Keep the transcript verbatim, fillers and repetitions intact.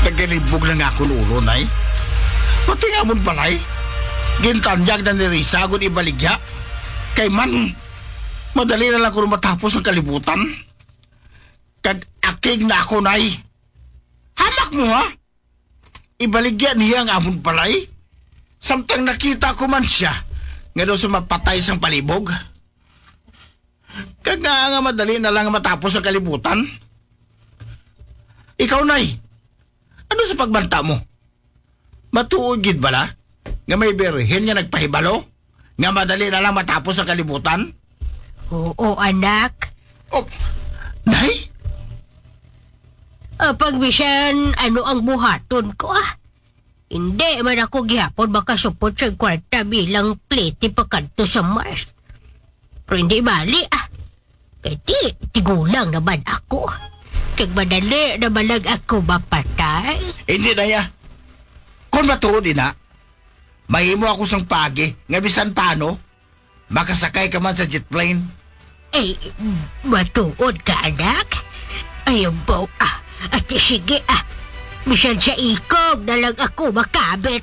Tagalibog lang akon ulo, Nay. Pati nga amon balay, gintanyag na ni Risa agud ibaligya. Kay man, madali na lang kuno matapos ang kalibutan. Kag akig na ako, Nay. Hamak mo, ha? Ibaligya niya ang amon balay? Samtang nakita ko man siya nga daw sa mapatay sang palibog. Kag nga, nga madali na lang matapos ang kalibutan. Ikaw, Nay, ano sa pagbanta mo? Matuod gid bala nga may birhen nga nagpahibalo nga madali na lang matapos ang kalibutan? Oo, anak. Oh, Nay? Apang bisan ano ang buhaton ko, ah. Hindi man ako gihapon makasupot sa kwarta bilang plete pa kadto sa Mars. Pero hindi bali, ah. Kay di, tigulang naman ako. Kag madali naman lang ako mapatay. Hindi, Nay, ah. Kung matuod ina, mahimo ako sang paagi nga bisan paano, makasakay ka man sa jet plane. Ay, matuod ka, anak? Ay, ambaw, ah. Ati, sige, ah. Bisan sa ikog na lang ako makabit.